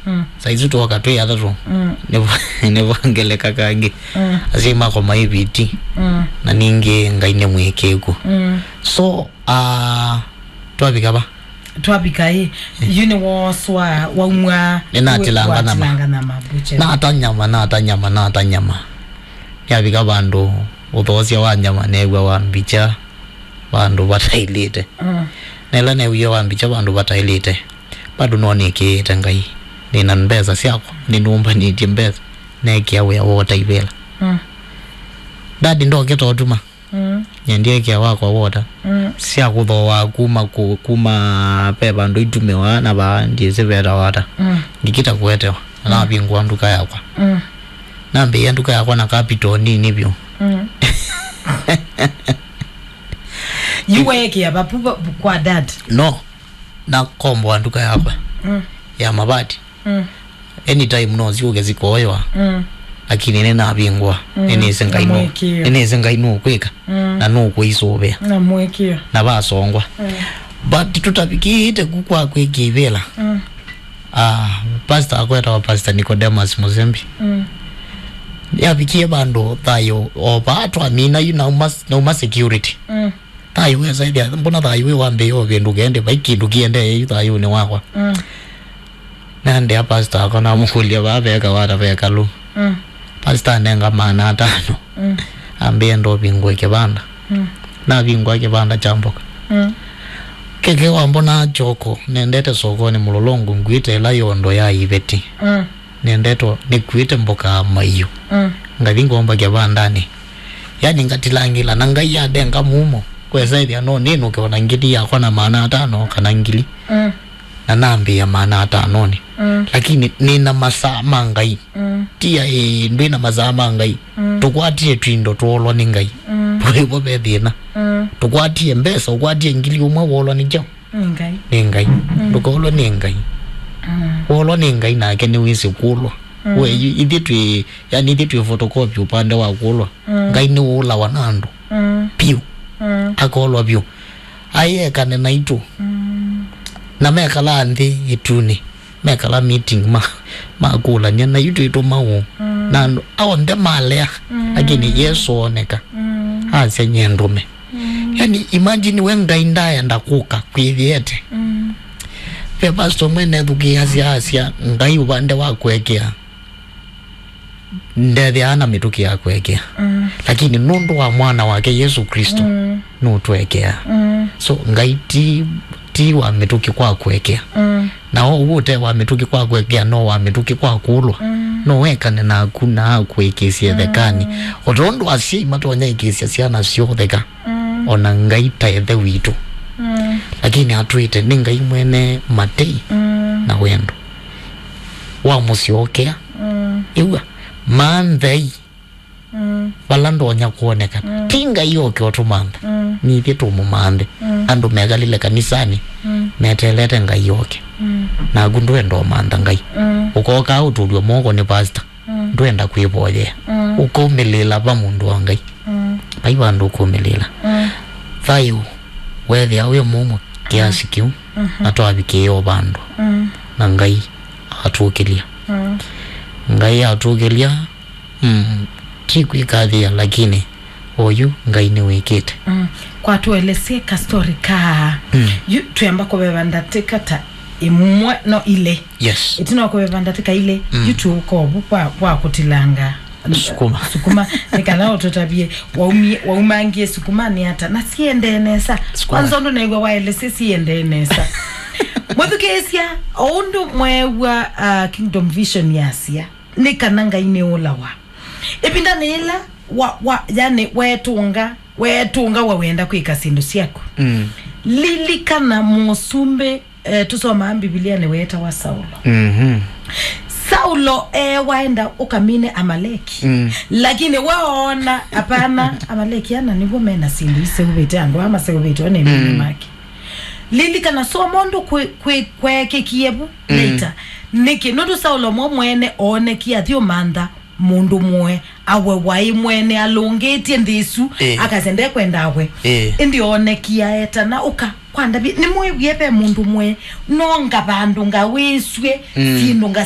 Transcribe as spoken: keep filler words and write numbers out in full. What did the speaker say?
Mm. Saizi twoka twĩ atatũ. Mm. Nĩvo-, nĩvo ngeleka kangĩ. Mm. Asyai makwa maĩ viti. Mm. Na ningĩ Ngai nĩ mwĩkĩĩku. Mm. So, ah, twavika va? Twavika ĩ, yu nĩ woswa waumwa. Nĩnatilanga nyama. Watilanga nyama butcher. Nata nyama, nata nyama, nata nyama. Nĩavika vandũ ũthoosya wa nyama neew'a wa mbicha vandũ vataĩlĩte. Mm. Na ĩla neewie wa mbicha vandũ vataĩlĩte, bado no nĩkĩĩte Ngai. Nĩna mbesa syakwa, nĩnũmbanĩtye mbesa, neekĩa wĩa wa ũtaivĩla. Mm. Daddy ndokĩta ũtuma. Mm. Nyendie ĩkĩa wakwa wota. Mm. Sya kũthooa kuma ku-, kuma ve vandũ itumĩwa na vaa ndiĩsĩ vetawa ata. Mm. Ngĩkita kũetewa. Mm. Navingũa nduka yakwa. Mm. Nambĩĩa nduka yakwa na capital nini vyũ. Mm. Yu weekĩa vapu va-, kwa dad? No. Nakomboa nduka yakwa. Mm. Ya mavati. Mm. Anytime no syũke sikoywa. Mm. Lakini nĩnavingũa. Mm. Nĩnĩsĩ Ngai nũ-, na mũĩkĩĩo. Nĩnĩsĩ Ngai nũkwĩka. Mm. Na nũkũisũvĩa. Na mũĩkĩĩo. Na vasongwa. Mm. But tũtavikĩte ku kwa kwĩkĩa ivĩla. Mm. Ah, pastor akwetawa Pastor Nicodemus Musembi. Mm. Yavikie vandũ thayũ o vaa twamina yu nauma, nauma security. Mm. Thayũ wesa ĩthĩa, mbona thayũ wĩ wambĩĩa ũvĩndũke, ĩndĩ vai kĩndũ kĩendee yu thayũnĩ wakwa. Mm. Naendea pastor akwa namũkũlya vaa veka wata vekalu. Mm. Pastor anenga maana atano. Mm. Ambĩa ndovingũe kĩvanda. Mm. Navingũa kĩvanda kya mboka. Mm. Keke wambona kyoko, nendete sokonĩ mũlolongo nguĩte ĩla yondo ya iveti. Mm. Nendetwe nĩkuĩte mboka ya maiũ. Mm. Ngathi ngomba kĩvandanĩ. Yani ngatilangĩla na Ngai adenga mumo. Kwesa ĩthĩa no nĩnũke ona ngili yakwa na maana atano kana ngili. Mm. Na nambĩĩa maana atanonĩ. Mm. Lakini nĩna masaa ma Ngai. Mm. Tia ĩ, ndwĩna masaa ma Ngai. Mm. Tũkwatie twindo twoolwa nĩ Ngai. Mm. Vo ve thĩna. Mm. Tũkwatie mbesa, ũkwatie ngili ũmwe woolwa nĩ kyaũ? Nĩ Ngai. Nĩ Ngai. Mm. Ndũkaolwe nĩ Ngai. Mm. Woolwa nĩ Ngai nake nĩwĩsĩ kũlwa. Mm. We, yu-, ithyĩ twĩ, yani ithyĩ twĩ photocopy upande wa kũlwa. Mm. Ngai nĩwũlawa na andũ. Mm. Piũ. Mm. Akolwa vyũ. Aĩ ekane naitũ. Mm. Na mekala nthĩ ĩtunĩ. Mekala meeting ma, makũlany'a na yu twĩtũma ũũ. Mm. Na andũ onthe malea. Mm. Lakini Yesũ ooneka. Mm. Asya nyie ndũme. Mm. Yani, imagine we Ngai ndaenda kũka kwĩthĩete. Mm. Ve pastor ũmwe nethukĩĩasya asya, Ngai ũvande wa kũekea, ndethĩaa na mĩtũkĩ ya kũekea. Mm. Lakini nũndũ wa mwana wake Yesũ Kristo, mm, nũtũekeaa. Mm. So, Ngai ti, ti wa mĩtũkĩ kwa kũekea. Mm. Na ũu ũte wa mĩtũkĩ kwa kũekea, no wa mĩtũkĩ kwa kũlwa. Mm. No ekane naku na akũĩkĩĩsye, mm, thekanĩ. O tondũ asyai matonya ĩkĩĩsya syana syoo theka. Mm. Ona Ngai ta Ĩthe witũ. Mm. Lakini atwĩte nĩ Ngai mwene matei, mm, na wendo. Wamũsyokea. Mm. Ĩw'a, manthei. Mm. Vala ndonya kwonekana. Mm. Ti Ngai oke ũtũmantha. Mm. Nithyĩ tũmũmanthe. Mm. Andũ mekalile kanisanĩ, mm, metelete Ngai oke. Mm. Naku ndwenda ũmantha Ngai. Mm. Ũkokaa ũtũlw'e moko nĩ pastor. Mm. Ndwenda kwĩvoyea. Mm. Ũkaumĩlĩĩla va mũndũ wa Ngai. Mm. Vai vandũ ũkaumĩlĩĩla. Mm. Thayũ weethĩa wĩ mũmũ kĩasi, mm, kĩu, mhm, na twavikĩĩa o vandũ. Mm. Na Ngai atũkĩlya. Mm. Ngai atũkĩlya, mm, ti kwĩkathĩa, lakini oyu Ngai nĩwĩkĩte. Mm. Kwa tũelesye ka story ka, mm, yu twĩamba kũveva ndatĩka ta ĩmwe, no, ilĩ. Yes. Ĩtina wa kũveva ndatĩka ilĩ, mm, yu tũũka ovu kwa, kwa kũtilanga sukuma. Sukuma, nĩ kana ũtũtavye, waumie, waumangie sukuma nĩ ata, na siendee nesa. Sukuma. Kwanza ũndũ naigua waelesye siendee nesa. Mwĩthukĩĩsya, o ũndũ mweew'a, uh, Kingdom Vision yasya, nĩ kana Ngai nĩũlawa. Ĩvindanĩ yĩla wa, wa, yani, weetũnga, weetũnga wa wenda kwĩka syĩndũ syaku. Mm. Lilikana mũsumbĩ, eh, tũsomaa Mbivilianĩ weetawa Saulo. Mhm. Saulo, eh, waenda ũkamine Amaleki. Mm. Lakini we oona, hapana, Amaleki ana nĩw'o mena syĩndũ iseũvĩte, andũ aa maseũvĩtwe nĩ mĩnĩ, mm, make. Lilikana, so mũndũ kwĩ, kwĩ, kweekĩkie vu, mm, later. Nĩkĩ? Nũndũ Saulo mo mwene oonekie athi ũmantha mũndũ mũe, awe waĩ mwene alũngĩtye nthĩ ĩsu, ĩĩ, akasya ndekwenda awe. Ĩĩ. Ĩndĩ oonekie aetana, ũka, kwa Ndaviti, nĩmwĩwie ve mũndũ mũe, nonga vandũ ngawĩsw'e, mm, syĩndũ nga